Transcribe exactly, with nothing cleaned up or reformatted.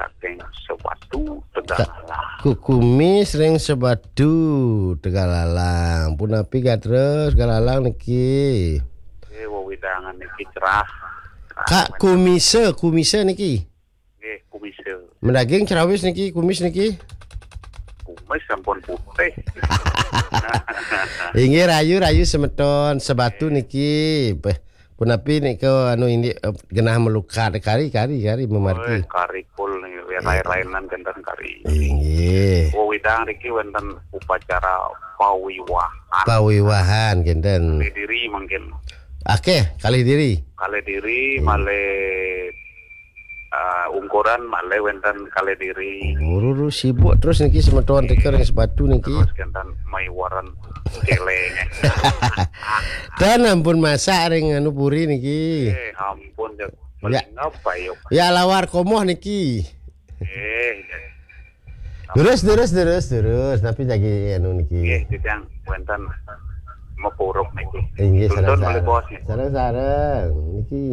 saking Sebatu, Tegallalang. Kumis ring Sebatu, Tegallalang. Punapi gatra Tegallalang niki? Eh, wewidangan niki cerah. Kak Kumisa, Kumisa niki. Nggih, Kumisa. Madaging crawis niki, kumis niki. Kumis sampun putih. Inggih, rahayu, rahayu semeton Sebatu niki. Peh, punapi nika anu indik, eh, genah malukat kari, kari, kari mamargi. Oi, kari kul nih, ya, eh, lain-lainan kenten kari. Inggih. Wewidangan niki wenten upacara pawiwahan. Pawiwahan kenten. Kalih diri mungkin. Akeh, kalih diri. Kalih diri, hmm, malih, eh, ungkuran malih wenten kalih diri. Buru sibuk terus niki semeton tika ring Sebatu niki. Terus kenten maiwaren celeng. Dan ampun masak ring anu puri niki. Eh, ampun, ya. Ya. Paling apa, yuk? Ya, lawar komoh niki. Eh, ya. Terus, terus, terus, terus. Tapi lagi anu niki. Nggih, titiang wenten mapuruk niki. Inggih, tuntun sareng-sareng. Malih bos niki. Sareng-sareng niki.